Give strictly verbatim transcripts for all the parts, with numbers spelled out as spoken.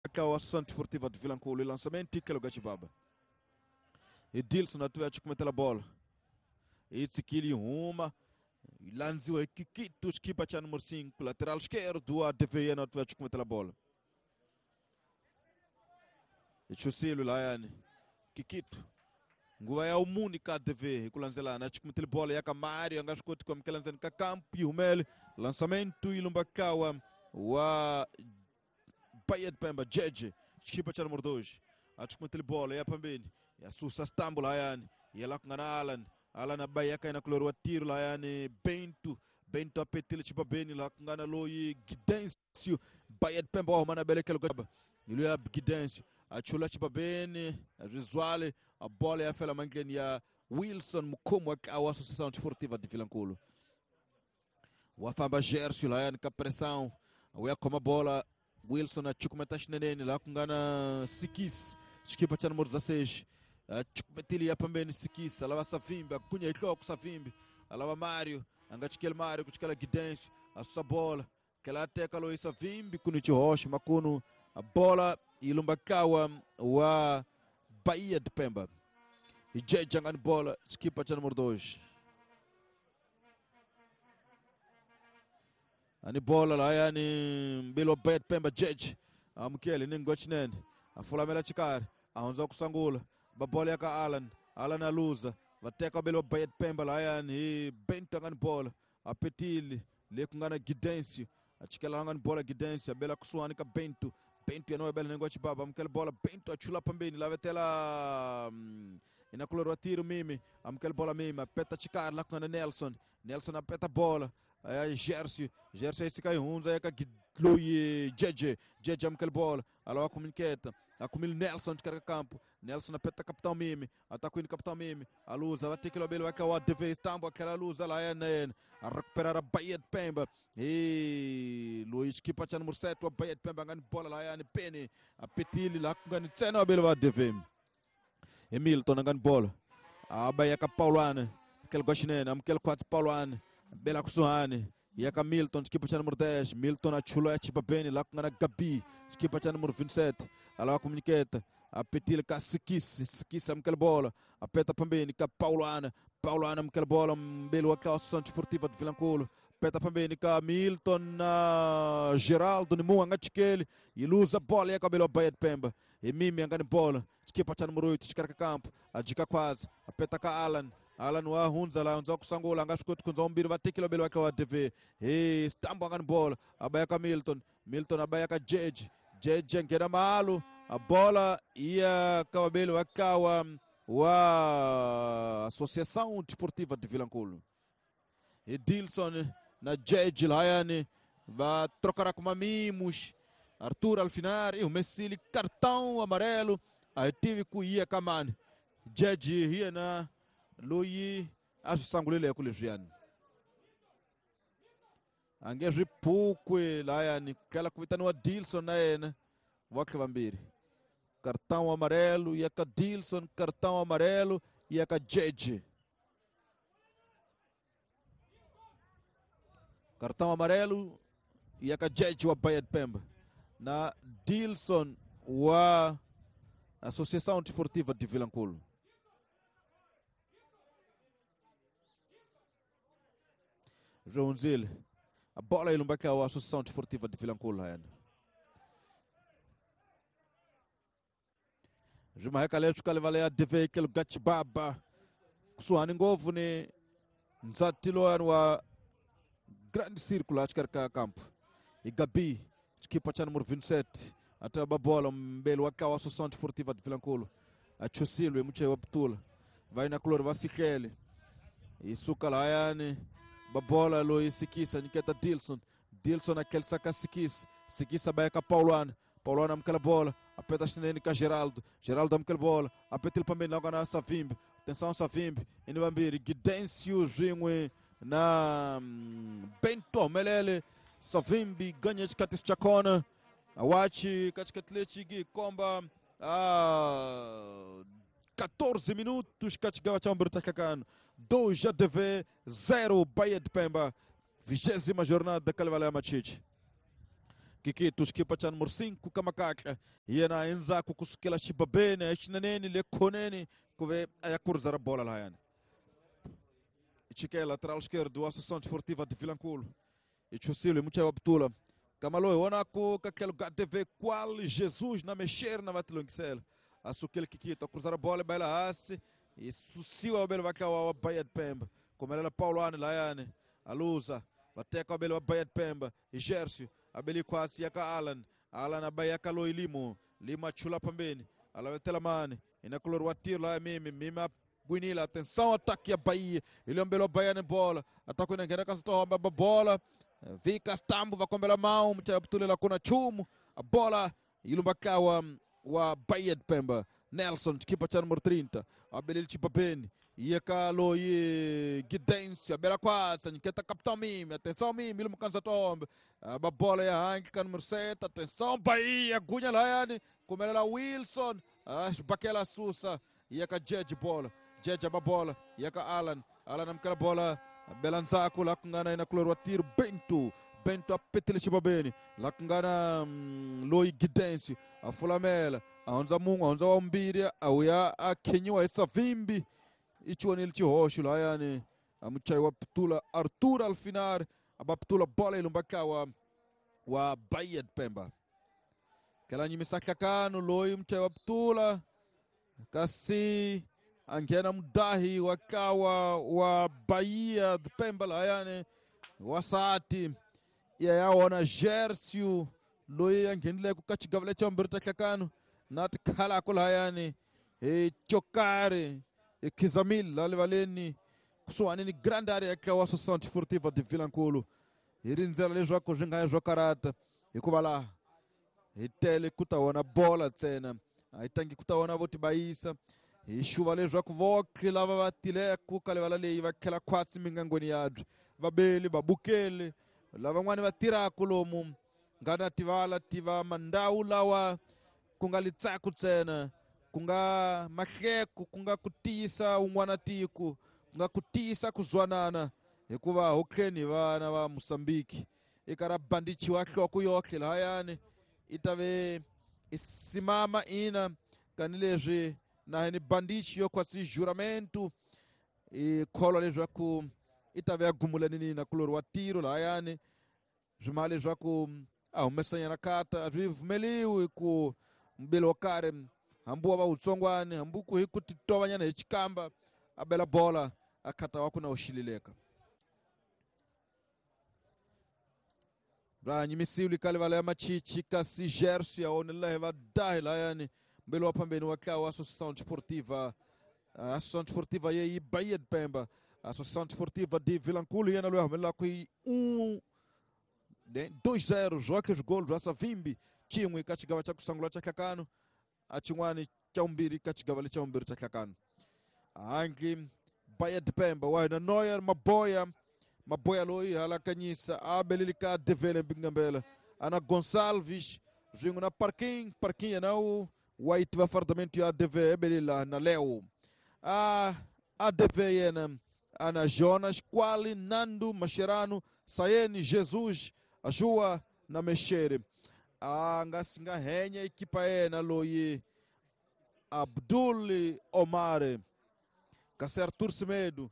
Ka wa Associação Desportiva de Vilankulo, lançamento e que Gachibaba. Edilson atuia chukumetela bola. Itsikili uma lanziwa Kikito equipa cha número cinco, lateral esquerdo a D V N atuia chukumetela bola. Ichusilo layani Kikito. Nguva ya umuni ka D V ikulanzelana chukumetela bola ya Kamario angashikoti kwa mkelanzani ka campo e umele lançamento ilumbakawa wa Bahia de Pemba, Jeje, equipa cha número dois. Achukumetela bola ya pambeni. Ya susa stambo layani. Ya la kungana Alan. Alan abaya kaina kulorwa tiro layani Bento. Bento apetile chipa beni la kungana loyi Gidencio. Bahia de Pemba wa mana beleke lugaba. Ilu ya Gidencio. Achula chipa beni. Rizwale. A bola ya fela mangeni ya Wilson Mukomo wa Associação Desportiva de Vilankulo. Wafamba Gercio layani ka pressão. Uya koma bola. Wilson achukumeta xinenene la kungana Sikis. Equipa cha número dezesseis. Achukumetili ya pambeni Sikis. Alava Savimbi. Akunha ikloko Savimbi. Alava Mário. Angachikele Mário. Kuchikela Gidencio. A bola. Kela teka lo Savimbi. Kunichi Rocha. Makuno. A bola. Ilumbakawa wa Bahia de Pemba. E Jeje angani bola. Equipa cha número dois. Ani bola la yani mbilo Bahia de Pemba Jeje. Amkele ningwachinene. Afulamela chikari. Ahonza kusangula. Babola yaka Alan. Alan aluza. Vateka belo Bahia de Pemba la yani Bento angani bola. Apetili lekungana Gidencio. Achikela angani bola Gidencio. Bela kusuani ka Bento. Bento yanoe bela ningwachi baba. Amkele bola Bento achula pambeni. Lavetela inakulorwa tiro mimi. Amkele bola mimi. Apeta chikari la kungana Nelson. Nelson apeta bola. Aí Gercio, Gercio esse cai hunza aí ka Jeje, Jeje amkel bola, ala comuniqueta, acumil Nelson de carga campo, Nelson apeta capitão Mimi, ataca o capitão Mimi, a luz, vai ter que lobelo vai cair o D V estambo aquela luz lá é N, a recuperar a Bahia de Pemba. E Luiz que pacha número sete, a Bahia de Pemba ganha bola lá é N Pene, a Petili lá com ganha cena belo a D V. Emilton ganha bola. A Bahia ka Paulana, aquele goshinene, amkel quatro Paulana. Bela Kusuhane, Yaka Milton, equipa cha número dez, Milton achula chipa beni, lá com a Gabi, equipa cha número vinte e sete, ala comuniqueta, a Petila ka Sikis, Sikis amkel bola, a Peta pambeni ka Paulana, Paulana amkel bola, mbelo a Associação Desportiva de Vilankulo, Peta pambeni ka Milton, uh, Geraldo Nimu angachikele, e luza bola yaka belo Bahia de Pemba, e Mimi angani bola, equipa cha número oito, descarga campo, a dica quase, a Peta ka Alan. Alan wa hunza la hunza kusangula ngashikuti kunza umbiri vatikilo belo wake wa D V. Hey, stambo angani bola abayaka Milton, Milton abayaka Jeje, Jeje ngena malu a bola ia kawabelo wakawa wa Associação Desportiva de Vilankulo. Edilson na Jeje layani va trocar com mimos. Arthur Alfinar e o Messi cartão amarelo a tive ku ia kamani. Jeje hiena loyi aswisangulile ku leswiyani a nge swi phukwi layani kala ku vitaniwa Dilson na yena wa vambirhi cartão amarelo ya ka Dilson, cartão amarelo ya ka Jeje, cartão amarelo ya ka Jeje wa Bahia de Pemba na Dilson wa Associação Desportiva de Vilankulo. Joãozil, a bola ilumbaka a Associação Desportiva de Vilankulo. Juma heka letu kale vale a D V kelo Gachibaba. Kusuhani ngovu ni nzatilo wa grande círculo acho que campo. E Gabi, equipa cha número vinte e sete, até a bola mbele wa a Associação Desportiva de Vilankulo. A Chusilo e muche wa Btula. Vai na color vai Fikele. E suka layani babola lo Sikisa niketa Dilson. Dilson aquele saca Sikis. Sikisa vai ka Paulana. Paulana amkela bola. Apeta chinene ka Geraldo. Geraldo amkela bola. Apeta ele pambeni lá na Savimbi. Atenção Savimbi. Inibambiri Gidencio Jingwe na Bento Melele. Savimbi ganha de Katis Chacona. Awachi Katikatlechi Gui Komba. Ah, quatorze minutos, Katigawa Chamber dois A D V, zero Bahia de Pemba. Vigésima jornada da Kalevala Machite. Kikito xikipa cha numero cinco kamakakla yena endzhaku kusukela xibabeni exineneni le khoneni ku ve a ya kurza ra bola lahayani. Chikela lateral esquerdo Associação Desportiva de Vilanculo. E Chusilo muchayi wa Butula. Kamalo wona ku ka tlhelo ka T V qual Jesus na mexer na vatilongisela. Asukele Kikito a cruzar a bola baila hasi e susiwa belo va wa Bahia de Pemba. Komelela Paulo ani layani aluza vateka belo wa Bahia de Pemba. E Gercio abeli kwasi yaka Alan. Alan abaya kaloi limo lima chula pambeni alavetela mani inakulor wa tiro la mimi mimi Guinila, atenção, ataque a Bahia. Ele ambelou a Bahia na bola. Ataque na guerra, a bola. Vika Stambo va kombela mão, mchaya kuna chumu. A bola ilumbakawa wa Bahia de Pemba. Nelson, kipa cha número trinta. Abelil Chipapeni. Yeka loyi Gidencio, abela kwasa, nketa capitão mimi. Atenção mimi, ilumukanza tombe. A bola ya Hank, número sete. Atenção Bahia, Gunha Layane. Komelela Wilson. Bakela Susa. Yeka Jeje bola. Jeje a bola, yaka Alan, Alan amkela bola, Belanzaku lakungana inakulorwa tiro Bento, Bento apetele chibabeni, lakungana mm, Loi Gidencio, afulamela, aonza mungu, aonza wambiri, auya akenyiwa esavimbi, ichiwanile chihoshu layani, amuchai wa Ptula Arthur Alfinar, abaptula bola ilumbakawa wa Bahia de Pemba. Kela nyimisakakano Loi mchai wa Ptula, kasi angena mudahi wakawa wa Bahia de Pemba layane wasati yayaona Gercio loyi anghenile ku ka xigavula xa vumbirhi xa hlakano na tikhalako layani hi Chokari hi Khizamil la livaleni kusuhani ni grande area ya wa Associação Desportiva de Vilanculo hi rindzela leswaku swi nga ya swo karata hikuva laha hi tele ku ta wona bola ntsena a hi tangi ku ta wona vo tibayisa hi xuva leswaku voke lava va tileko ka livala leyi va khela khwatsi mingangweni yabyo vabeli vabukeli lavan'wani va tirhaka lomu nga na tivala tiva mandhawu lawa ku nga litsaku ntsena ku nga mahleko ku nga ku tiyisa un'wana tiko ku nga ku tiyisa ku zwanana hikuva hotleni vana va Mozambique i ka ra bandichiwa nhloko yohle lahayani i ta ve i simama ina kanileswi na ni bandichi yo kwasi juramento e kholwa leswaku i ta ve ya gumulani na kulori wa tiro lahayani swima leswaku a humesanyana kata a swi pfumeliwi ku mbilo wo karhi hambi wa va wutsongwani hambi ku hi ku titovanyana hi xikamba a bela bola a khata wa ku na u xilileka ra nyimisiwi ka livala ya machichi kasi Gercio ya onela hi va dahi lahayani mbelo wa phambeni wa ntlawa wa Associação Desportiva Associação Desportiva ye Bahia de Pemba Associação Desportiva de Vilanculo yena loyi a humelelaka hi um dois zero zwoke zwigolo zwa Savimbi chin'we ka xigava xa ku sungula xa hlakano a xin'wani xa vumbirhi ka xigava lexa vumbirhi xa hlakano handle Bahia de Pemba wa hina Noyer Maboya Maboya loyi halakanyisa a beleli ka Devele Mbingambela ana Gonçalves swin'we na Parking Parking yena u wa yi tiva fardamento ya D V ebelela na Leo a A D V yena ana Jonas Quali Nando Mascherano Sayeni Jesus Ajua na Mexere a nga si nga henya ekipa yena loyi Abdul Omar kasi Arthur Semedo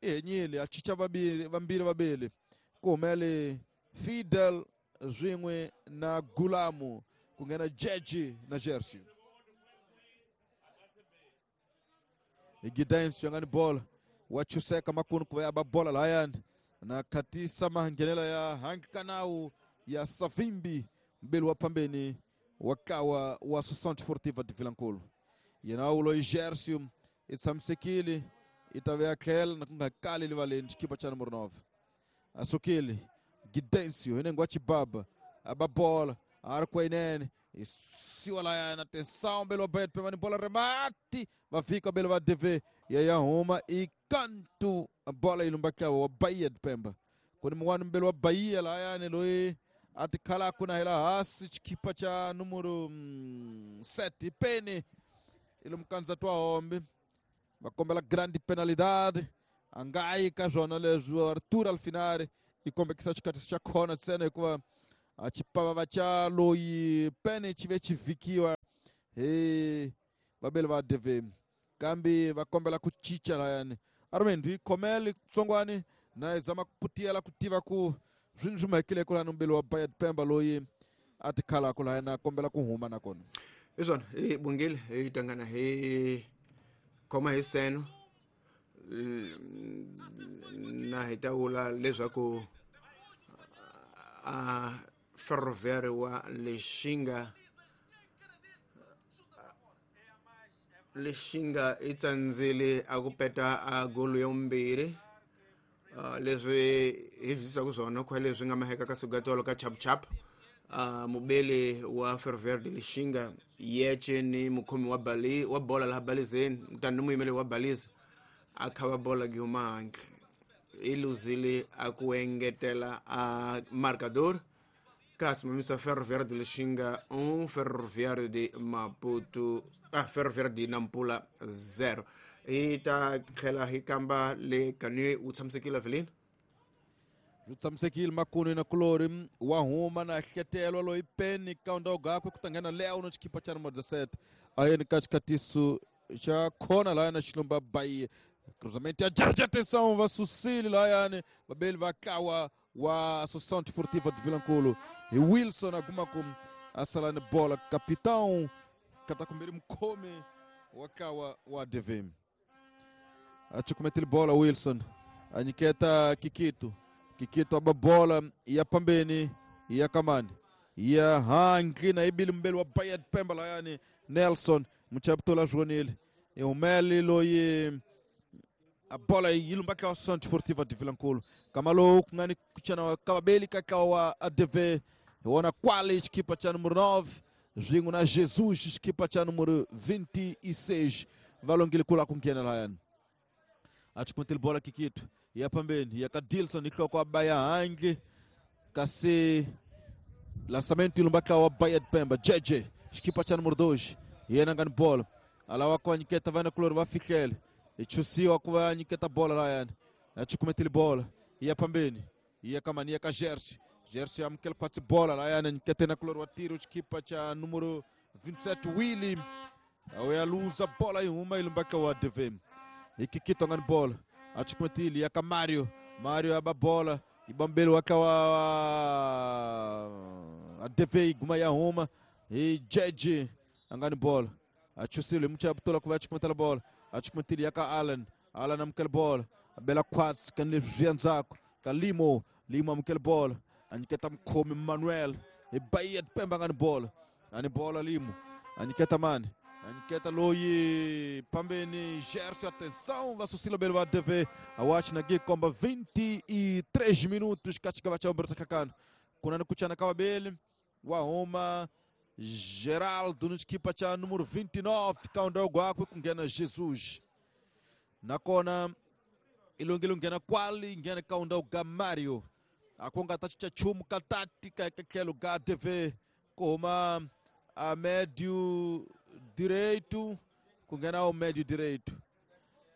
i henyile a chicha vambirhi vambirhi vabeli ku humele Fidel swin'we na Gulamu ku nghena Jeje na Gercio Gidencio nga ni bola wa chuseka makunu ku ya ba bola lahayani na khatisa mahangenela ya Hankanau ya Savimbi mbeli wa phambeni wa kawa wa Associação Desportiva de Vilanculo yena ulo Gercio i tshamisekile i ta ve a tlhela na ku nga kali livaleni xikipa xa numero nove asukile Gidencio hi wa Chibaba a ba bola a ri kwinene isiwa layana atenção mbeli wa Bahia de Pemba ni bola remate va fika mbeli wa D V ya ya huma i kantu bola yi lumbakawa wa Bahia de Pemba ku ni mun'wana mbeli wa Bahia layani loyi a tikhalaka na hela hansi xikipa xa numero sete peni i lomu twa hombe va kombela grande penalidade a nga yi ka swona leswi Arthur Alfinari i kombekisa xikatiso xa khona ntsena hikuva A xipavava xa loyi pene xi ve xi vhikiwa hi vabeli va D V kambe va kombela ku cinca layani Armando hi khomele tsongwani na hi zama ku putiyela ku tiva ku swi swi mahekile ku lani mbeli wa Bayard Pemba loyi a tikhalaka layani a kombela ku huma nakona hi swona hi bungile hi tangana hi khoma hi seno na hi ta vula leswaku a Ferroviário wa Lixinga Lixinga i tsandzile a ku peta a golo ya vumbirhi leswi hi byisaku swona khwa leswi nga maheka ka sugatolo ka chap chap mubeli wa Ferroviário de Lixinga yece ni mukhomi wa bali wa bola laha balizeni tani ni muyimeli wa baliza a khava bola gi huma handle i luzile a ku engetela a marcador kasi mamisa Ferroviário de Lixinga um, Ferroviário de Maputo ah, Ferroviário de Nampula zero. Hi ta tlhela hi kamba le kani u tshamisekile Evelyn u tshamisekile makunu na kulori wa huma na hletelwa loyi peni kaunda gakwe ku ta nghena Leo no xikipa xa number dezessete a yeni ka xikatiso xa khona laya na xilumba bayi cruzamento ya Jardim, atenção va susile layani vabeli va kawa wa Associação Desportiva de Vilankulo e Wilson aguma ku asala ni bola capitão katakumbiri mukhomi wa kawa wa D V M achukumetile bola Wilson anyiketa Kikito Kikito aba bola ya pambeni ya kamani ya hangli na ibili mbeli wa Bayard Pemba layani Nelson muchaptola Joanil e umeli loyi a bola yilumbaka Associação Desportiva de Vilankulo kamalo kungani kuchana kababeli kakawa A D V wona quali equipa cha número nove zingo na Jesus equipa cha número vinte e seis valongile kula kungena layani achukumetile bola Kikito ya pambeni ya Kadilson ikloko abaya hangli kasi lançamento ilumbaka wa Bayard Pemba J J equipa cha número dois yena ngani bola alawa kwa nyiketa vana kulori va fihlele ichusiwa kuva nyiketa bola layani achukumetile bola ya pambeni ya kamani ya ka Gersi Gersi amkele kwatsi bola layani nyikete na kulori wa tiro equipa cha número vinte e sete Willy awealuza bola ihuma ilumbaka wa D V M ikikito ngani bola achukumetile ya ka Mario Mario aba bola ibambeli wakawa A D V iguma ya huma e J J angani bola achusile mchabutola kuva achukumetela bola achukumetile ya ka Alan Alan amkele bola abela kwatsi kanle zvianzako ka Limo Limo amkele bola anyiketa mkhomi Manuel e Bayard Pemba ngani bola ani bola Limo anyiketa mani anyiketa loyi pambeni Gerson, atenção vasusila belo A D V awachi na gikomba vinte e três minutos katika vacha Alberto Kakano kunani kuchana kawabeli wa huma Geraldo no equipa cha número vinte e nove kaunda gwakwe kungena Jesus nakona ilungile ngena kwali ngena kaunda ga Mario akonga tachicha chumu katati ka kelo ga D V koma a médio direito kungena o médio direito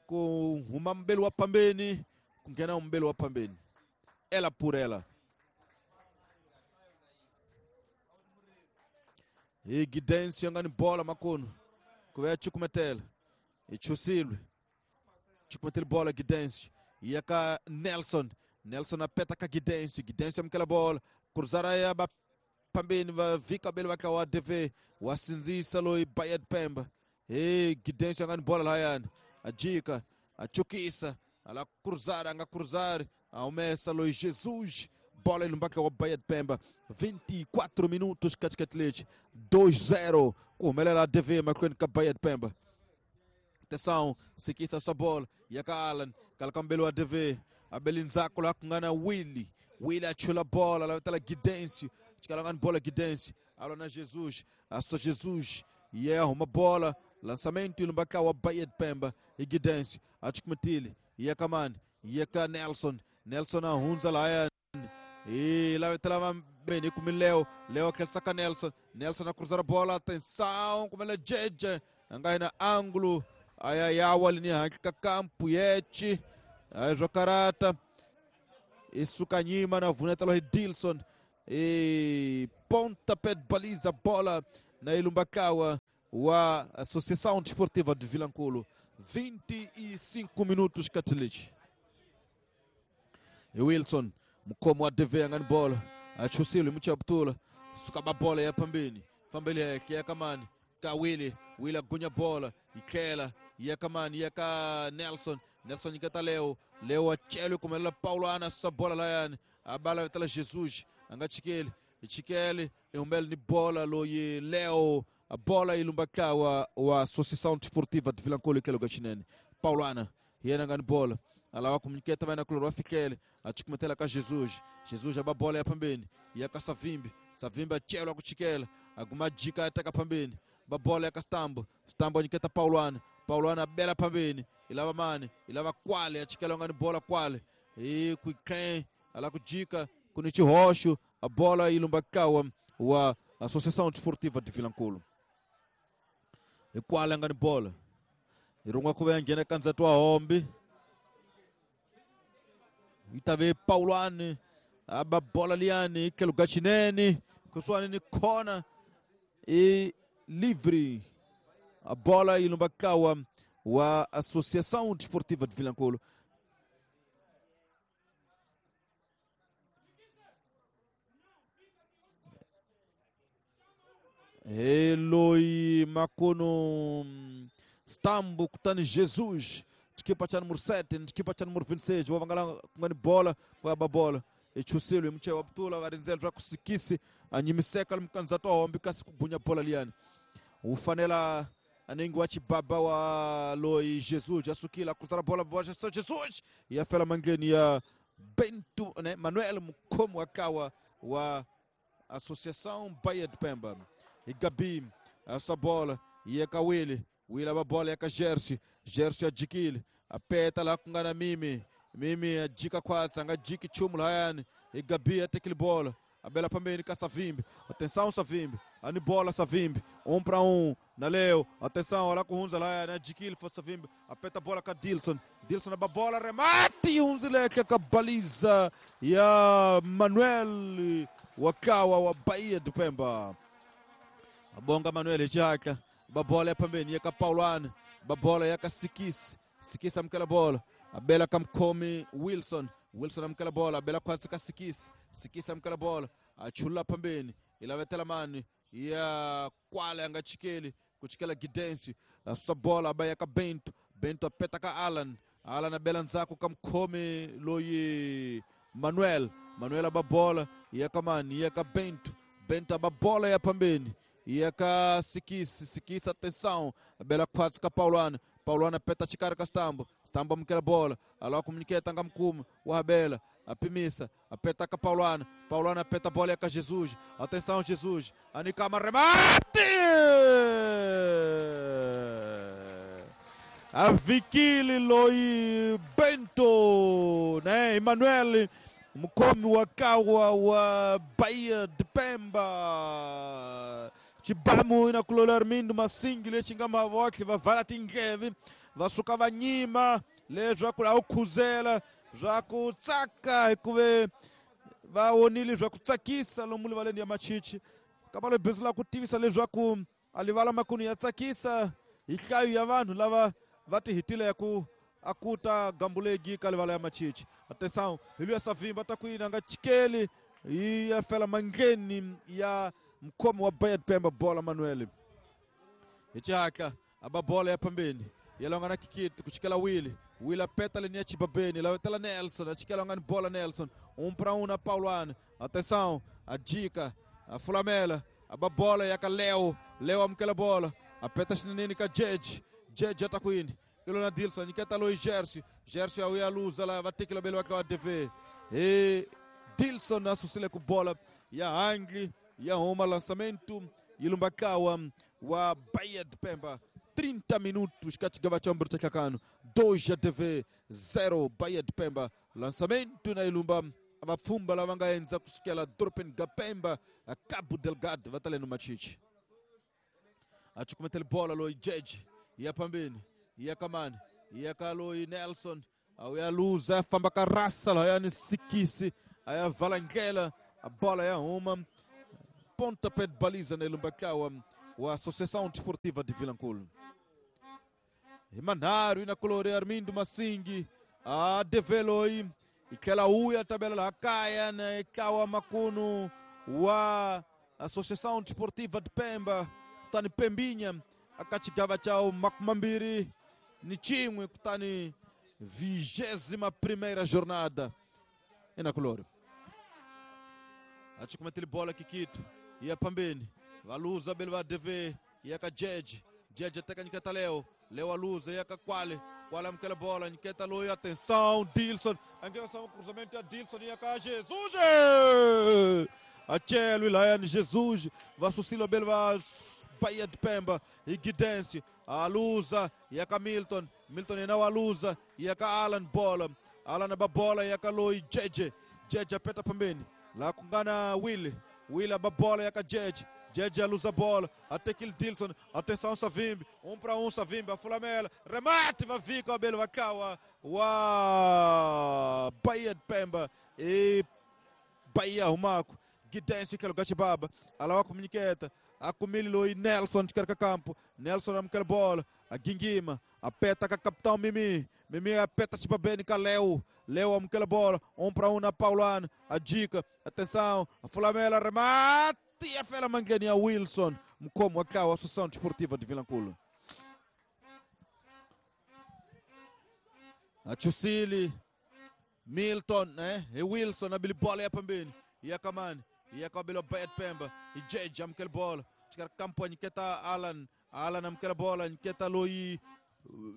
com uma mbelo wa pambeni kungena o mbelo wa pambeni ela por ela e Gidencio angani bola makono kuve chukumetela e chusilwe chukumetela bola Gidencio e aka Nelson Nelson apeta ka Gidencio Gidencio amkela bola cruzara ya ba pambeni va vika bele vaka wa D V wasinzisa loyi Bayard Pemba e Gidencio angani bola layani ajika achukisa ala cruzar anga cruzar aumessa loyi Jesus bola ilumbaka wa Bayard Pemba vinte e quatro minutos katikati dois zero kuhumelela D V mahlweni ka Bayard Pemba atenção sikisa sua bola yaka Alan kalakambelo wa D V abelinzako la kungana Willy Willy achula bola la tala Gidencio chikalangani bola Gidencio alona Jesus aso Jesus e arruma bola lançamento ilumbaka wa Bayard Pemba e Gidencio achikumetile yaka mani yaka Nelson Nelson ahunza la e lá tala bem com Leo Leo aquele saca Nelson Nelson a cruzar a bola atenção como ela jeje angai na ângulo ayayawa linha ka campo yete aí jocarata isso kanyima na vuneta lo Dilson E pontapé de baliza, bola na Ilumbakawa wa Associação Desportiva de Vilankulo. vinte e cinco minutos Katilich. E Wilson mkomo wa D V angani bola achusile mchabtula sukaba bola ya pambeni fambele yake ya kamani ka Willy Willy agunya bola ikela ya kamani ya ka Nelson Nelson ikata Leo Leo achele kumela Paulo ana sa bola la yani abala tala Jesus angachikele ichikele eumbele ni bola loye Leo a bola ilumbakawa wa Associação Desportiva de Vilankulo ikelo gachinene Paulo ana yena ngani bola alawa kumniketa vai na kuloro afikele achikumetela ka Jesus Jesus aba bola ya pambeni ya ka Savimbi Savimbi achelo akuchikela agumajika ataka pambeni ba bola ya ka Stambo Stambo aniketa Paulo ana Paulo ana bela pambeni ilava mane ilava kwale achikela ngani bola kwale e kuiken ala kujika kunichi rocho a bola ilumbakawa wa Associação Desportiva de Vilankulo e kwale ngani bola irungwa kuve ngena kanzatu wa hombi itave Paulo ane aba bola liane ke lugatinene kuswani ni kona e livre a bola ilumbakawa wa Associação Desportiva de Vilankulo. Eloi Makono Stambo kutani Jesus equipa cha número sete, equipa cha número vinte e seis, vangala ngani bola kwa babola echusilo mche wabtula varinzel ra kusikisi anyimiseka mkanza to hombi kasi kugunya bola liani ufanela aningi wa chibaba wa Loi Jesus asukila kutara bola bola Jesus ya fela mangeni ya Bento né Manuel Mkomo akawa wa Associação Baía de Pemba e Gabi essa bola e Kawili Wila babola ya ka Gersi Gersi ajikile apeta la kungana mimi mimi ajika kwatsa nga jiki chumu la yani e Gabi atekile bola abela pambeni ka Savimbi atenção Savimbi ani bola Savimbi um para um na Leo atenção olha kuhunza la yani ajikile for Savimbi apeta bola ka Dilson Dilson ababola remate unzileke ka baliza ya Manuel wakawa wa Baía de Pemba abonga Manuel Jaka babola ya pambeni yaka Paulo ana babola yaka Sikisi Sikisi amkela bola abela kamkomi Wilson Wilson amkela bola abela kwatsi ka Sikisi Sikisi amkela bola achula pambeni ilavetela mani ya kwale anga chikeli kuchikela Gidensi asusa bola abaya ka Bento Bento apeta ka Alan Alan abela nzako kamkomi loyi Manuel Manuel ababola yaka mani yaka Bento Bento ababola ya pambeni yaka Sikisi Sikisi atenção abela kwatsi ka Paulo ana Paulo ana peta chikara ka Stambo Stambo amkela bola alawa komuniketa nga mkumu wa Abela apimisa apeta ka Paulo ana Paulo ana peta bola yaka Jesus atenção Jesus anikama remate avikili loi Bento né Emanuel mkomi wakawa wa Baía de Pemba chibamu ina kulola Armindo Masingi lechinga mavokli vavala tingevi vasuka vanyima leswi ku aukhuzela zwa ku tsaka hikuve va vonile zwa ku tsakisa lomu livaleni ya machichi kamba lebhizu la ku tivisa leswaku a livala makunu ya tsakisa hi nhlayo ya vanhu lava va ti hitile ku akuta gambulegi ka livala ya machichi atenção hi luya Savimbi ta ku yini a nga chikeli yi ya fela mangleni ya mkhomi wa Baía de Pemba bola Manuel hi xihatla aba bola ya pambeni ya longa na Kikiti ku chikela Willy Willy apeta leni ya chibabeni lavetela Nelson a chikela ngani bola Nelson um para um na Paulo ana atenção a dica a fulamela aba bola ya ka Leo Leo amukela bola apeta xineneni ka Jeje Jeje ata ku yini ilo na Dilson nyiketa loyi Gersi Gersi a uya luza la va tekela bele wa ka wa D V e Dilson a susile ku bola ya hangli ya huma lançamento ilumbakawa wa Baía de Pemba trinta minutos katigava cha mbirhi cha dois a D V zero Baía de Pemba lançamento na ilumba vapfhumba lava nga endza kusukela dorobeni ga Pemba a Cabo Delgado va ta le no machichi a cukumetele bola loyi Jeje ya pambeni ya kamani ya ka loyi Nelson a ya luza ya famba ka rasa lahayani Sikisi a ya vala ndlela A bola é uma pontapé de baliza na Ilumbakawa wa Associação Desportiva de Vilanculo. Imanharu ina colore Armindo Massingi a develoi ikela uya tabela la kaya na ikawa makunu wa Associação Desportiva de Pemba kutani Pembinha akachigava chao makumambiri ni chimwe kutani vigésima primeira jornada ina colore. Achikumetele bola kikito ia pambeni valuza bele va D V ia ka Jeje Jeje teka nyiketa Leo Leo aluza ia ka Kwale Kwale amkela bola nyiketa loyo atenção Dilson angela um cruzamento ya Dilson ia ka Jesus Achelo Ilaiane Jesus vasusilo bele va Bahia de Pemba e Guidense aluza ia ka Milton Milton ina aluza ia ka Alan bola Alan ba bola ia ka loi Jeje Jeje apeta pambeni lá kungana Willy Willy a bola ia ka Jeje Jeje aluza bola até que Dilson atenção Savimbi um para um Savimbi a Fulamela remate vai ficar o Belo Vacawa wa Bahia de Pemba e Bahia Rumaco Guidense que é o Gatibaba alawa comuniqueta a Comilho e Nelson de carca campo Nelson amquela bola a Guinguima apeta com a capitão Mimi Mimi apeta tipo bem com Leo Leo amquela bola um para um na Paulano a dica atenção a Fulamela remate e a Fela Manguinha Wilson como a a Associação Desportiva de Vilanculo a Chusili Milton né e Wilson a Billy bola e a Pambini e a Kamani e a Cabelo Bahia de Pemba e Jeje amquela bola tirar campo nyiketa Alan Alan amquela bola nyiketa Loi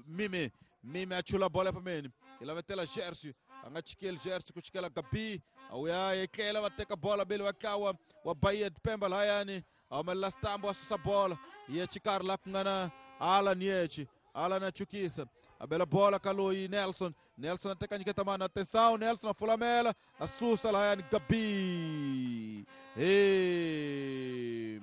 Mime Mime achula bola pambeni ela vai tela Gercio angachikele Gercio kuchikela Gabi auya ekela wateka bola bele wakawa wa Bahia de Pemba layani amela stambo asusa bola ye chikar la kungana Alan yechi Alan achukisa abela bola kaloi Nelson Nelson ateka nyiketa mana atenção Nelson afulamela asusa layani Gabi e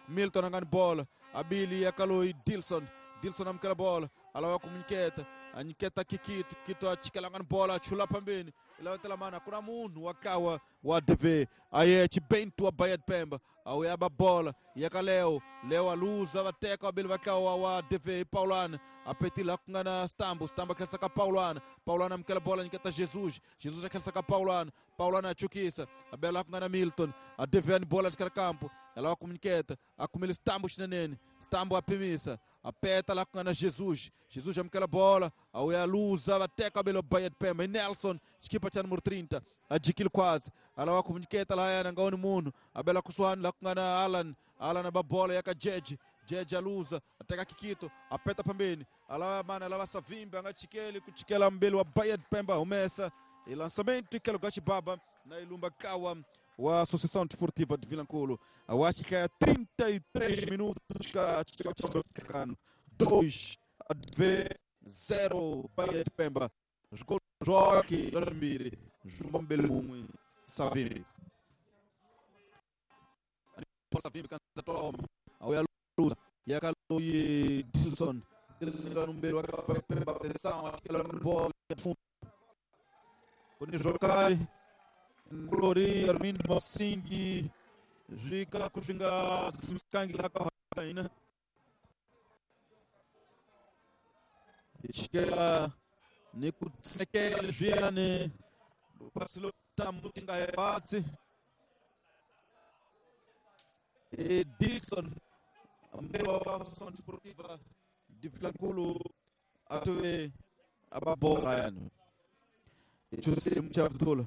Milton angani bola abili ya kaloi Dilson Dilson amkela bola alawa kumunyiketa anyiketa kikito kito achikela ngani bola achula pambeni ilawetela mana kuna munhu wakawa wa D V aye chibento wa Bahia de Pemba awuyaba bola yaka Leo Leo aluza wateka wabili wakawa wa D V Paulana apetila kungana Stambo Stambo akhelisa ka Paulana Paulana amkela bola nyiketa Jesus Jesus akhelisa ka Paulana Paulana achukisa abela kungana Milton a D V ani bola de campo ela comuniceta akumile Stambo chinenene Stambo apimisa apeta lá kungana Jesus Jesus amkela bola awuya luza wateka wabili wa Bahia de Pemba e Nelson equipa cha número trinta adikile quase alawa comuniceta lá yana ngaoni munhu abela kusuani lá kungana Alan Alan ababola yaka Jeje Jeje aluza ateka Kikito apeta pambeni alawa mana alawa Savimbi angachikeli kuchikela mbele wa Bahia de Pemba umesa e lançamento ikelo Gatibaba na Ilumba Kawa wa Associação Desportiva de Vilanculo acho que é trinta e três minutos dois a zero Bahia de Pemba jogou Joque Larmiri João Belum Savimbi Savimbi canta toma ao Luza e a Caloi Dilson Dilson no meio a Pemba atenção aquela bola fundo quando jogar Glori Armindo Massingi Jika Kuxinga Simskangi lá com a Raina Esquela Nikutsekele Viane Pasilo Tamutinga Ebate E Dilson a Associação Desportiva de Vilanculo atue ababola yani Chussi Mchabdula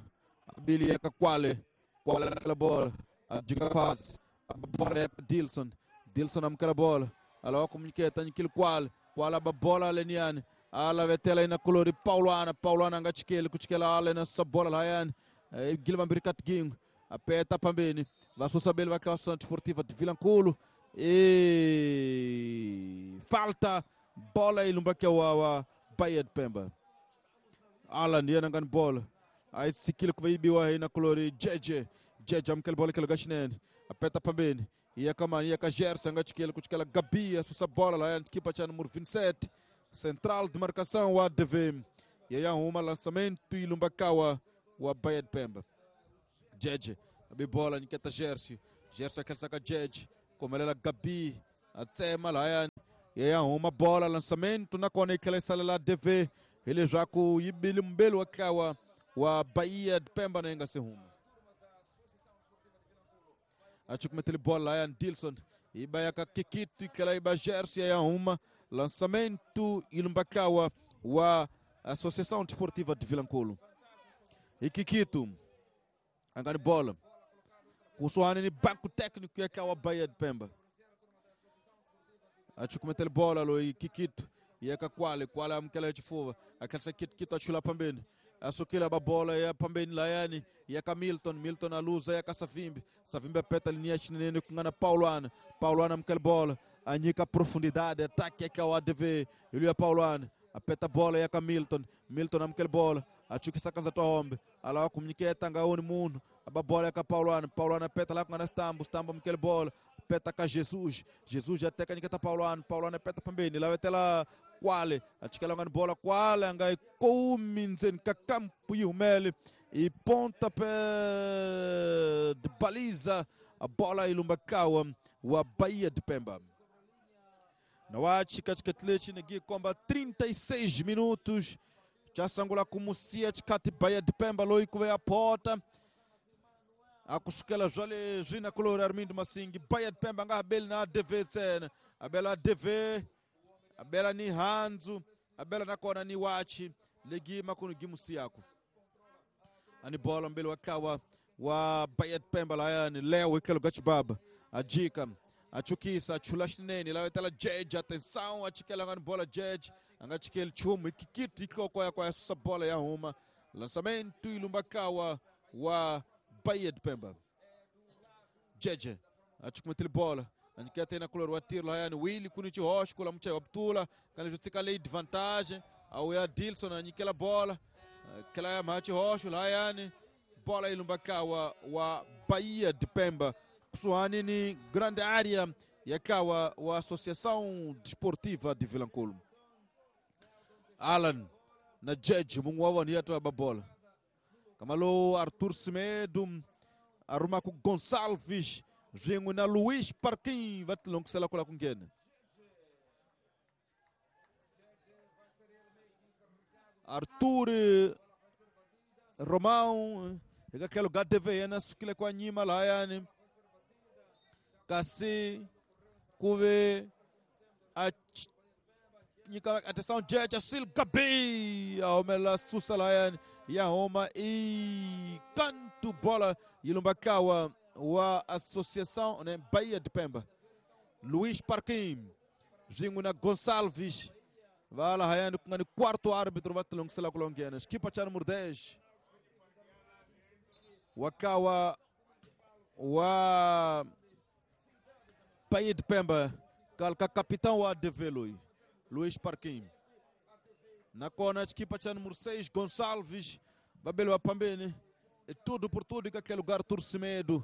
Abili yaka Kwale Kwale aquela bola a diga quase a bola é Dilson Dilson amkela bola ala comuniqueta nikil Kwale Kwale a bola leniane ala vetela ina colori Paulana Paulana angachikele kuchikela ala na sa bola la yani Gilvan Birikat Ging apeta pambeni vasusabeli va Associação Desportiva de Vilanculo e falta bola ilumbakia wa Bahia de Pemba Alan yena ngani bola aí sikile kuvaibiwa ina colori Jeje Jeje amkele bola kele gashinene apeta pambeni ia kamani ia ka Gerson angachikele kuchikela Gabi asusa bola la yani kipa cha número vinte e sete central de marcação wa D V e aí uma lançamento ilumbakawa wa Bahia de Pemba Jeje Abi bola nyiketa Jersey. Jersey a khensa ka Jeje. Komelela Gabi a tsema lahayani ya ya huma bola lançamento nakona yi tlhela yi salela D V hileswaku yi bile mbeli wa ntlawa wa Bahia de Pemba na yi nga se huma. A cukumetele bola lahayani Dilson yi ba ya ka Kikito yi tlhela yi ba Jersey ya ya huma lançamento yi lumba ntlawa wa Associação Desportiva de Vilankulo. E Kikito a nga ni bola kusuhani ni banco técnico ya ntlawa Bahia de Pemba. A cukumetele bola loyi Kikito ya ka Kwale, Kwale amukela hi xifuva a tlherisa Kikito a chula phambeni a sukile ba bola ya phambeni layani ya ka Milton, Milton a luza ya ka Savimbi, Savimbi a peta linha xinene ku nga na Paulana, Paulana amukela bola a nyika profundidade ataque ya ka wa A D V hi luya Paulana a peta bola ya ka Milton, Milton amukela bola a chukisa kanza tohombe a lava ku nyiketa nga oni munhu a ba bola ya ka Paulana, Paulana peta la ku nga na Stambo, Stambo amukela bola peta ka Jesus, Jesus já teka nyiketa Paulana, Paulana peta phambeni lavetela Kwale a chikela nga ni bola Kwale a nga yi kumi ndzeni ka kampu yi humele i ponta pé de baliza a bola yi lumba kawa wa Bahia de Pemba. Na wachi katika lexi ni gikomba trinta e seis minutos cha sangula kumusia chikati Bahia de Pemba loyi ku ve a pota a kusukela swa leswi na kulori Armindo Masingi. Bahia de Pemba nga ha beli na A D V ntsena, a bela A D V a bela ni handzu a bela nakona ni wachi legi makunu gimusiyako ani bola mbele wa kawa wa Bahia de Pemba layani Leo ikelo gachibaba ajika achukisa achula xinene lavetela Jeje atenção achikela ngani bola Jeje anga chikeli chumu ikikitu ikoko ya kwa susa bola ya huma lançamento ilumba kawa wa Bahia de Pemba. Jeje achukumetele bola aniketa na kulor wa tiro layani Willy kunichi hosh kula mche wa ptula kana jutsika lei de vantagem au ya Dilson anikela bola kela ya machi hosh layani bola ilumba kawa wa Bahia de Pemba kusuhani ni grande área ya kawa wa Associação Desportiva de Vilankulo. Alan na Jeje mungu wa wani yato ya babola kamalo Arthur Semedo aruma ku Gonçalves ringu na Luiz Parquim vatilonkusela kula kungena Arthur Romão eka lugar D V na sukile kwa nyima layani kasi kuve a nyika atenção Jeje Sil Gabi aomela susa layani ya homa e canto bola ilumbakawa wa Associação né Bahia de Pemba. Luiz Parquim ringu na Gonçalves vala hayani kungani quarto árbitro vatilonkusela kulongena equipa cha número dez wakawa wa Bahia de Pemba kalka capitão wa A D V Luiz Luiz Parquim na kona equipa cha número seis Gonçalves babelo pambeni e tudo por tudo que aquele lugar Turcimedo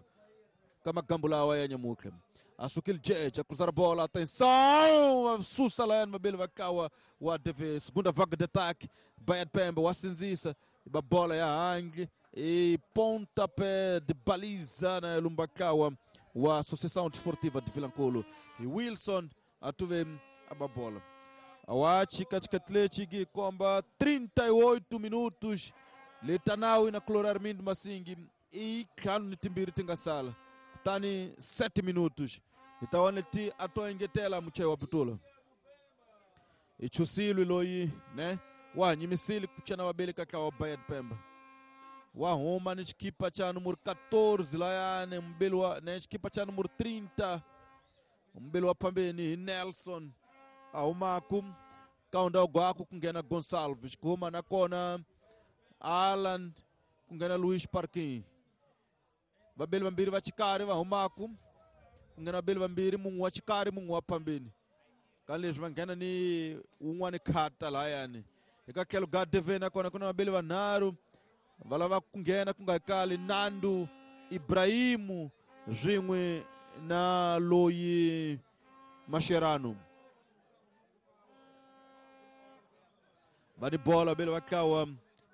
kamagambula wa nyamuke asukil Jeje a cruzar a bola atenção susa lá mabelo wakawa wa A D V segunda vaga de ataque Bahia de Pemba wa sinzisa ba bola ya hangi e pontapé de baliza na lumbakawa wa Associação Desportiva de Vilankulo e Wilson atuve a bola awachi katika Atlético komba trinta e oito minutos letanawi na Cloro Armindo Masingi e kanu ni timbiri tingasala kutani sete minutos itawane ti atoengetela mchewa putula ichusilwi loyi ne wa nyimisili kuchana wabeli kaka wa Bahia de Pemba wa huma ni chikipa cha número quatorze layane mbeli wa ne chikipa cha número trinta mbeli wa pambeni Nelson ahumaku kaunda gwaku kungena Gonçalves kuhuma nakona Alan kungena Luiz Parquim babeli vambiri va chikari va humaku kungena babeli vambiri munhu wa chikari munhu wa pambeni ka leswi va nghena ni un'wani khata layani eka tlhelo ga D V nakona ku na babeli vanharhu va lava ku nghena ku nga kali Nando Ibrahimu swin'we na loyi Mascherano va ni bola bele va tlawa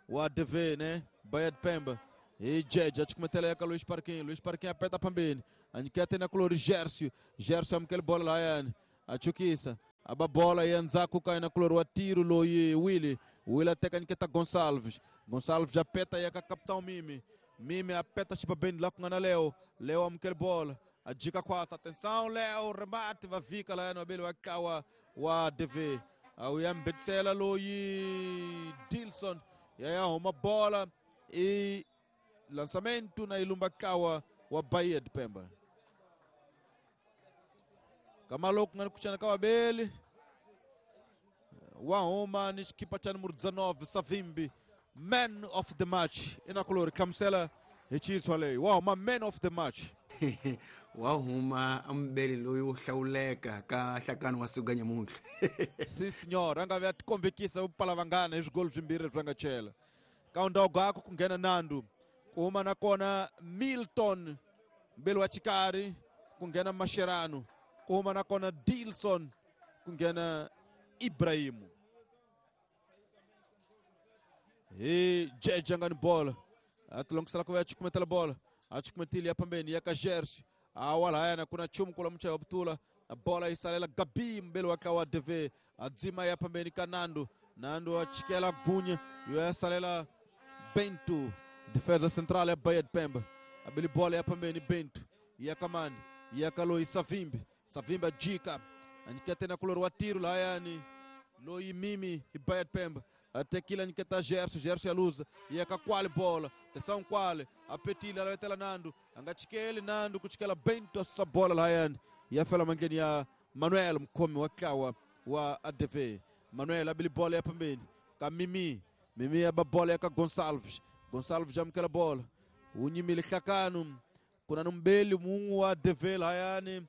wa D V ne Bahia de Pemba Hi Jeje a cukumetela ya ka Luiz Parquinho. Luiz Parquinho apeta pambeni. A nyiketa na kulori Gercio. Gercio amukela bola lahayani. A chukisa. Aba bola ya ndzhaku ka yena kulori wa tiro loyi Willy. Willy a teka nyiketa Gonçalves. Gonçalves apeta ya ka Capitão Mimi. Mimi apeta xibabeni la ku nga na Leo. Leo amukela bola. A jika kwata. Atenção Leo, remate va vika lahayani vabeli va kawa wa D V. A wu ya mbetsela loyi Dilson. Ya ya huma bola e lançamento na ilumba kawa wa Bahia de Pemba. Kamalo ku nga ni kuchana ka vabeli. Wa huma ni xikipa xa numero dezenove Savimbi, man of the match. Ina kulori hlamusela hi Chiefs leyi. Wa huma man of the match. Wa huma ambeli loyi wo hlawuleka ka nhlakano wa siku nyamuntlha. Si senhor, a nga vi a tikombekisa vupala vanghana hi swigolo swimbirhi leswi va nga chela. Ka ndhawu gako ku nghena Nando, ku huma na kona Milton mbeli wa Chikari, ku nghena Mascherano, ku huma na kona Dilson, ku nghena Ibrahimu. Hi Jeje nga ni bola. A tilongisela ku ya cukumetela bola. A cukumetile ya pambeni ya ka Gercio. A walahayana kuna chumu kula mchaya wa Butula. A bola isalela Gabi mbele wa kawa D V. A dzima ya pambeni ka Nando. Nando a chikela Gunha. Yo ya salela Bento. Defesa central ya Bahia de Pemba. A beli bola ya pambeni Bento. Ya Kamani. Ya Kaloi Savimbi. Savimbi a jika. Anikete na kulor wa tiro lahayani. Loi Mimi e Bahia de Pemba. Até que ele tá Gerson, Gerson a luza, e a qual bola, atenção qual, a petilha, ela vai ter Nando, angatikele Nando, kutikela Bento essa bola lá e a fela mangenia Manuel mkomi wa kawa wa A D V, Manuel abili bola ya pembeni, ka Mimi, Mimi ya bola ya ka Gonçalves, Gonçalves já mkela bola, unyimile kakanu, kuna numbeli mungu wa A D V lá yani,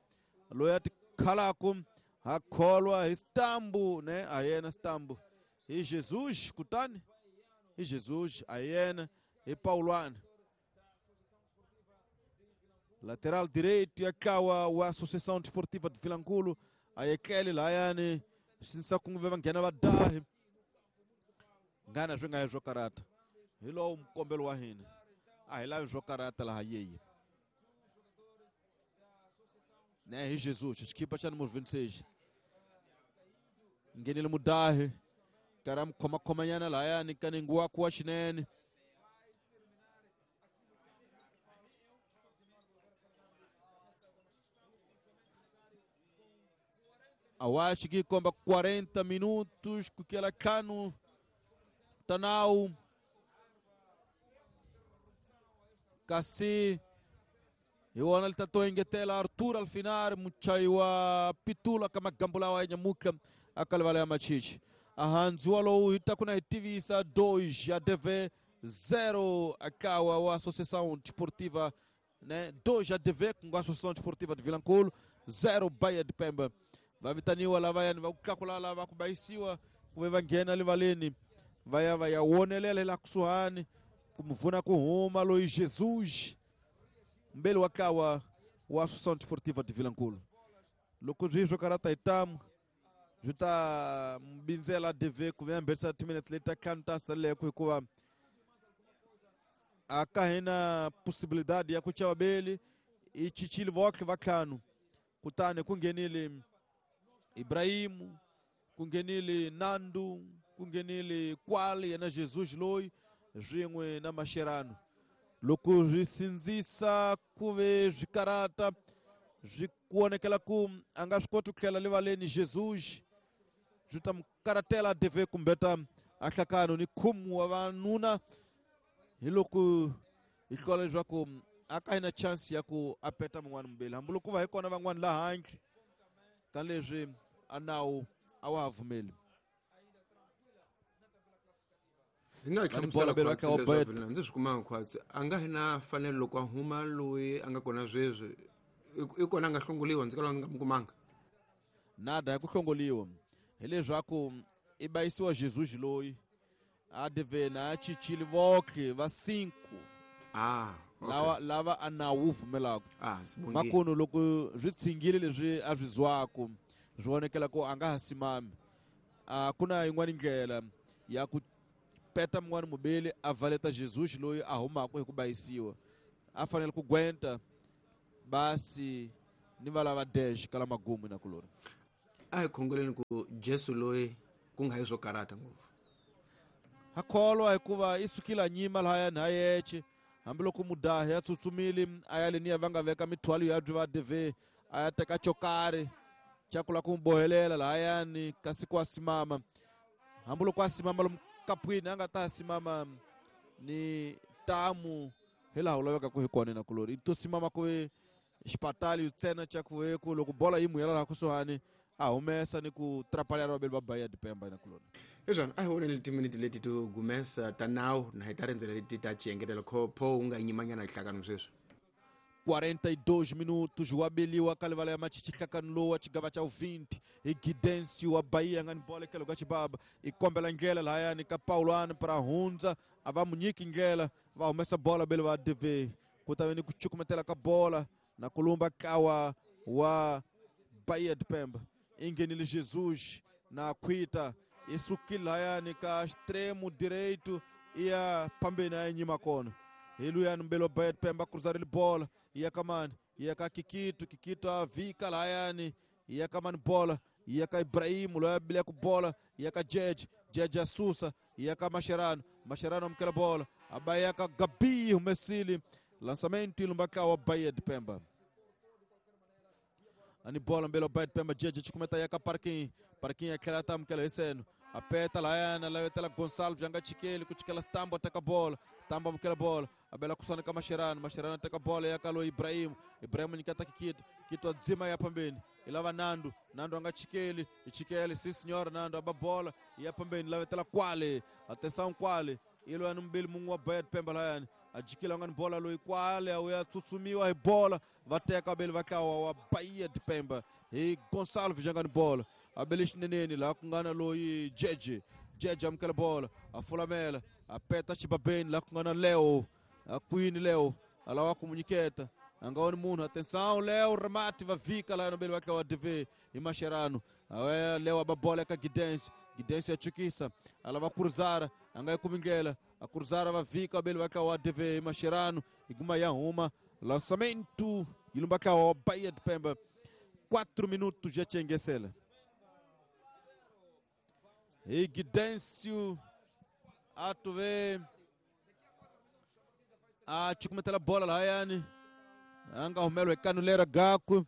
loyati kalakum, akholwa istambu, né, ayena istambu. E Jesus, kutani? E Jesus, Ayena e Pauluane. Lateral direito e acaba a Associação Desportiva de Vilanculo. Aí Kelly Laiane, sinsa kunve vangena vadahi. Ngana swi nga swo karata. Hi lowu mkombelo wa hina. A hi lavi swo karata laha yeyi. Né, e Jesus, equipa xa número vinte e seis. Ngenile mudahi. Karam khoma khomanyana lahayani ka ningu wa kuwa xinene. Awashi ki komba quarenta minutos kukela kanu Tanau kasi iwona litato ingetela Arthur Alfinar muchaiwa pitula kama gambula wa nyamuka akalvala ya machichi. Ahanzua lowu itakuna itivisa dois a D V zero akawa wa Associação Desportiva, né? dois a D V com a Associação Desportiva de Vilanculo, zero Bahia de Pemba. Vai vitaniwa lá vai vai kukakula lá vai kubaisiwa kuve vangena livaleni. Vai vai wonelele la kusuhani kumvuna kuhuma loyi Jesus mbele wakawa wa Associação Desportiva de Vilanculo. Loko zviswo karata itamu juta mbinzela D V ku vem mbetsa minutes later kanta sale ku hikuva akahina possibilidade ya kuchava beli ichichili voke vakhanu kutani kungenile Ibrahimu kungenile Nando kungenile Kwali yena Jesus loyi swin'we na Mascherano loko swi sindzisa kuve swikarata swi kuonekela ku a nga swi koti ku tlhela livaleni Jesus swi ta mukaratela D V kumbeta a hlakano ni khumu wa vanuna hi loko hi hlola leswaku a ka hina chance ya ku a peta mun'wana mubeli hambi loko va hi kona van'wana laha handle ka leswi a nawu a wa ha pfumeli. Hi nga hlamusela khwatsi ndzi swi kumanga khwatsi a nga hina fanelo loko a huma loyi a nga kona sweswi i kona a nga hlongoliwa ndzi kala nga mi kumanga nada ya ku hlongoliwa hileswaku i bayisiwa Jesus loyi a D V na chichili voke va cinco ah okay. lava lava a nawu pfumelaka ah makuno loko swi tshingile leswi a swi zwaku swi vonekela ku a nga ha simami a ku na yin'wana ndlela ya ku peta mun'wana mubeli a valeta Jesus loyi a humaka hi ku bayisiwa a fanele ku gwenta basi ni va lava dash kala magumu na kulori a hi khongeleni ku Jesu loyi ku nga hi swo karata ngopfu ha kholwa hikuva i sukile nyima lahaya na yeche hambiloko mudahi ya tsutsumile a ya leniya va nga veka mithwalo ya byi va D V a ya teka chokari xa ku lava ku n'wi bohelela lahayani kasi ku a simama hambiloko a simama lomu kapwini a nga ta simama ni tamu hi laha u lavekaka hi kona na kulori i to simama ku ve xipatali ntsena xa ku ve ku loko bola yi muyela laha kusuhani a humesa ni ku trapalha vaveli va Bahia de Pemba na kulori. Hiswona a hi voneni timiniti leti to gumesa ta nawu na hi ta rindzela leti ta xiengetelo pho wu nga yimanyana hi hlakano sweswi. quarenta e dois minutos wabeliwa kalivala ya machichi hlakano lowu wa xigava xa vinte hi Gidensi wa Bahia nga ni bola etlhelo ka xibaba i kombela ndlela lahayani ka Paulani para hundza a va mu nyiki ndlela va humesa bola bele va D V ku ta ve ni ku cukumetela ka bola na ku lumba kawa wa Bahia de Pemba i nghenile Jesus na khwita i sukile lahayani ka extremo direito i ya phambeni a ya nyima kona hi luyani mbele wa Bahia de Pemba cruzarile bola iya ka mani iya ka Kikito Kikito a vika lahayani iya ka mani bola iya ka Ibrahimu loyi a bileka bola iya ka Jeje Jeje a susa iya ka Mascherano Mascherano amukela bola a ba ya ka Gabi humesile lançamento i lumba ka wa Bahia de Pemba ani bola mbele wa Bahia de Pemba Jeje chikumeta ya ka Parquinho Parquinho a tlhela ta amukela hi seno a peta lahayana lavetela Gonçalves a nga chikeli ku chikela Stambo a teka bola Stambo amukela bola a bela kusana ka Mascherano Mascherano a teka bola ya ka loyi Ibrahim Ibrahim nyiketa Kikito Kito a dzima ya phambeni i lava Nando Nando a nga chikeli i chikeli si senhora Nando a ba bola ya phambeni lavetela Kwale atenção Kwale i loyani mbili mun'we wa Bahia de Pemba lahayani a jikile a nga ni bola loyi Kwale a ya tsutsumiwa hi bola va teka veli va tlawa wa Bahia de Pemba hi Gonçalves a nga ni bola a bele xineneni laha ku nga na loyi Jeje Jeje amukela bola a fulamela a peta xibabeni laha ku nga na Leo a kwini Leo a lava ku mu nyiketa a nga voni munhu atenção Leo remate va vika laha nobele va tlawa D V hi Mascherano Leo a ba bola eka Gidensi Gidensi ya chukisa a lava cruzara a nga yi kumi ndlela a cruzara va vika veli va tlawa D V hi Mascherano i guma ya huma lançamento yi lumba tlawa wa Bahia de Pemba quatro minutos ya chengesela hi Gidêncio a tu ve a chukumetela bola lahayani a nga humeliwa hi kanulera gakwe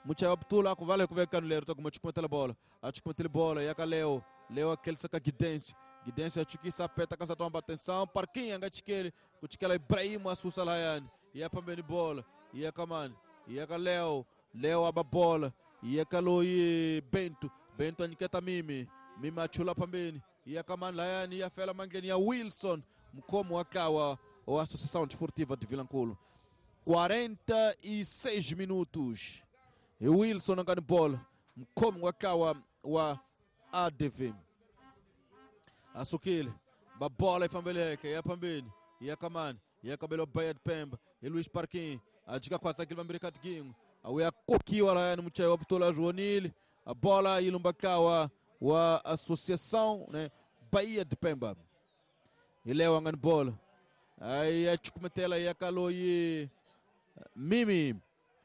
muchayi wa putula a ku vala hi ku ve kanulera ta kuma chukumetela bola a chukumetele bola ya ka Leo Leo a khelisa ka Gidêncio Gidêncio a chukisa a peta ka nsati wamba atenção Parquinho a nga chikeli ku chikela Ibrahim a susa lahayani ya phambeni bola ya ka mani ya ka Leo Leo a ba bola ya ka loyi Bento Bento a nyiketa Mimi Mimi a chula phambeni ya ka mani lahayani ya fela mandleni ya Wilson mukhomi wa tlawa wa Associação Desportiva de Vilankulo quarenta e seis minutos hi Wilson a nga ni bola mukhomi wa tlawa wa A D V a sukile ba bola yi fambele henhla ya phambeni ya ka mani ya ka belo Bahia de Pemba hi Luis Parquinho a jika khwatsakile vambirhi kati kin'we a wuya kokiwa lahayani muchayi wa putula a vonile a bola yi lumba tlawa wa Associação, né, Bahia de Pemba hi Leo a nga ni bola aí ya chukumetela ya ka loyi Mimi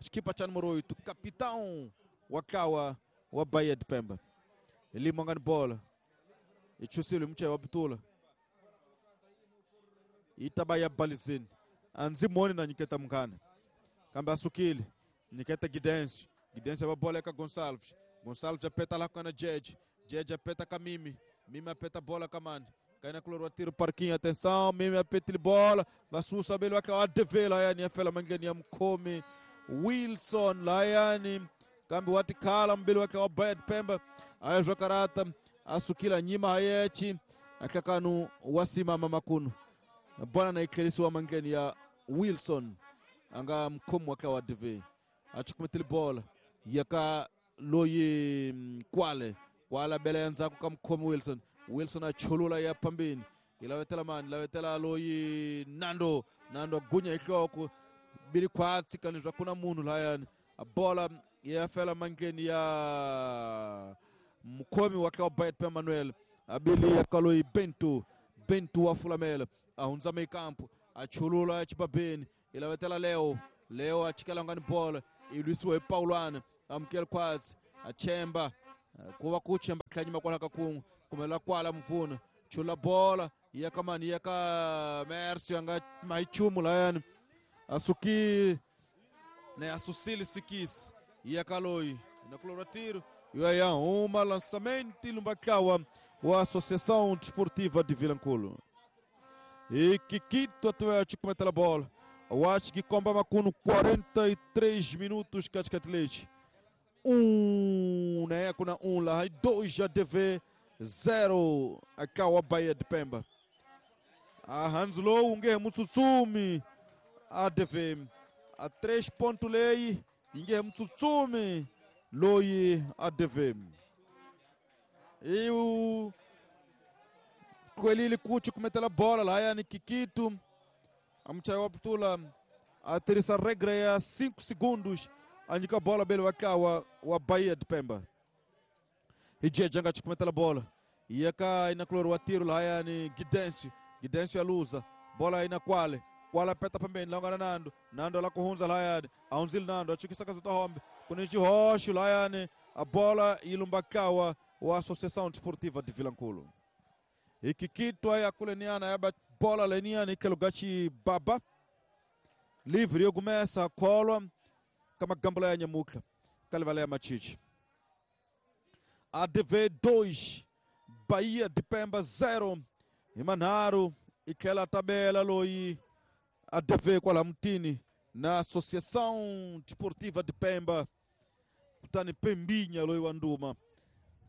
xikipa xa numero oito capitão wa tlawa wa Bahia de Pemba hi limo a nga ni bola i chusile hi muchayi wa putula yi ta va ya balizini a ndzi moni na nyiketa munghana kambe a sukile nyiketa Gidensi Gidensi va bola eka Gonçalves Gonçalves a peta laha ku nga na Jeje Jeje a peta ka Mimi Mimi a peta bola ka mani kaina kulori wa tiro Parquinho atenção Mimi a petile bola va susa beli va wa D V lahayani ya fela mandleni ya mukhomi Wilson lahayani kambe wa tikhala mbili wa wa Bahia de Pemba a ya zwa a sukile nyima hayechi ahlakanu wa simama makunu bwana na yi tlherisiwa mandleni ya Wilson a nga mukhomi wa tlawa D V a chukumetile bola ya ka loyi Kwale Kwale a bela ya ndzhaku ka mukhomi Wilson Wilson a chulula ya phambeni yi lavetela mani lavetela loyi Nando Nando a gunya hi nhloko bili khwatsi kani swa ku na munhu lahayani a bola ya fela mandleni ya mukhomi wa tlawa Bahia de Pemba Manuel a bili ya ka loyi Bento Bento wa fulamela a hundza mekampo a chulula chibabeni ilavetela Leo Leo a chikela ngani bola i lwisiwa hi Paulana amukela khwatsi a chemba ku va ku chemba tlhanyima kwala ka kun'we kumela kwala mupfuna chula bola ya ka mani ya ka Mercio a nga mahi nchumu layani a suki ne a susile sikisi ya ka loyi na kulora tiro yo ya huma lançamento lumbatlawa wa Associação Desportiva de Vilanculo. E Kikito Atlético mete a bola. Eu acho que comba macuno quarenta e três minutos Katikati Um, né? Com um lá, dois A D V, zero a Bahia de Pemba. A Hanslow, um guerra Mutsutsumi, A D V, a três pontos lei, ninguém Mutsutsumi, Loi A D V. E o Coelho Cucho comete a bola lá, é Kikito. A Mchayo Abdullah a terceira regra é a cinco segundos. A única bola belo acá o Bahia de Pemba. E Janga te comete a bola. E acá na cloro o tiro lá é Guidêncio. Guidêncio a lusa. Bola aí na quale. Quale aperta também. Lá agora Nando. Nando lá com Hunza lá é. A Unzil Nando. A Chico Saka Zota Hombe. Com o Rocho lá é. A bola e Lumbacawa. O Associação Desportiva de Vilanculo. E Kikito aí a Culeniana é a bola leniana que lugar baba. Livre eu começa a cola. Kama gambla ya nyamuka. Kalivalea Machichi. A D V dois, Bahia de Pemba zero. E Manaro e aquela tabela loi A D V com a Mutini na Associação Desportiva de Pemba. Kutani Pembinha loi Wanduma.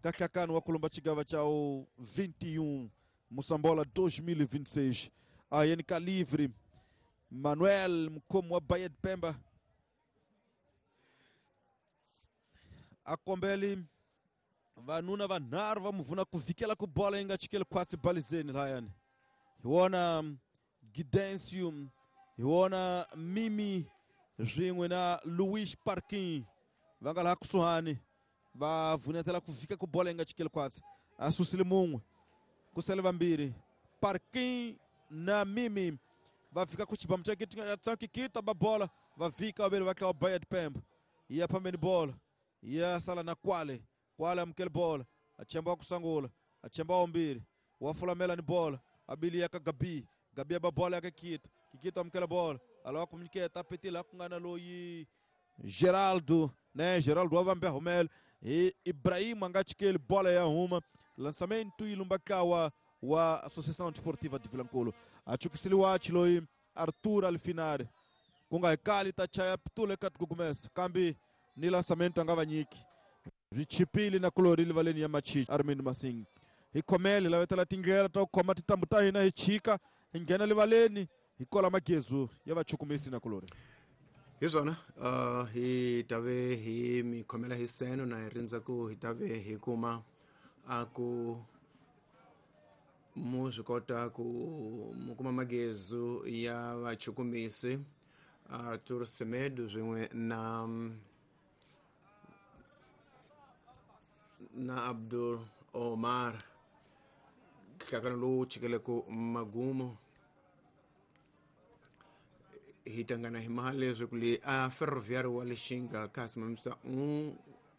Kakakano wa Kulumba Chigava chao vinte e um Moçambola dois mil e vinte e seis. A N K livre. Manuel como a Bahia de Pemba. A Combele vanuna vanharu vamuvuna kuvikela ku bola inga chikele kwatsi balizeni layani. Hiwona Gidencio, hiwona Mimi rin'we na Luis Parkin va nga laha kusuhani va vunetela ku vika ku bola inga chikele kwatsi. A susile mun'we ku sele vambirhi Parkin na Mimi va fika ku xibamu xa xa Kikita ba bola va vika vaveri va tlawa Bahia de Pemba. Ya phambeni bola ya sala na Kwale. Kwale amukele bola achemba wa kusangula achemba wa mbirhi wa fulamela ni bola abili ya ka Gabi. Gabi ba bola ya ka Kikita. Kikita amukela bola alawa kumnyiketa apetile ku nga na loyi Geraldo, né? Geraldo wa vambe humela e Ibrahim a nga chikeli bola ya huma lançamento ilumbakawa wa Associação Desportiva de Vilanculo. Achukisiliwa loyi Arthur Alfinari ku nga hikali ta chaya pitule ka tikugumesa kambi ni lançamento a nga va nyiki ri chipile na kulori livaleni ya Machichi Armindo Masing. Hi khomele lavetela tindlela ta ku khoma tintambu ta hina hi chika hi nghena livaleni hi kola magezu ya vachukumisi na kulori. Hi swona uh, hi tave hi mi khomela hi seno na hi rindza ku hi tave hi kuma a ku mu swi kota ku mu kuma magezu ya vachukumisi Arthur Semedo swin'we na na Abdul Omar. Nhlangano lowu chikeleke magumo hi tangana hi mali leswaku le a Ferroviário wa Lixinga ka simamisa un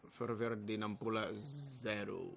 Ferroviário de Nampula zero.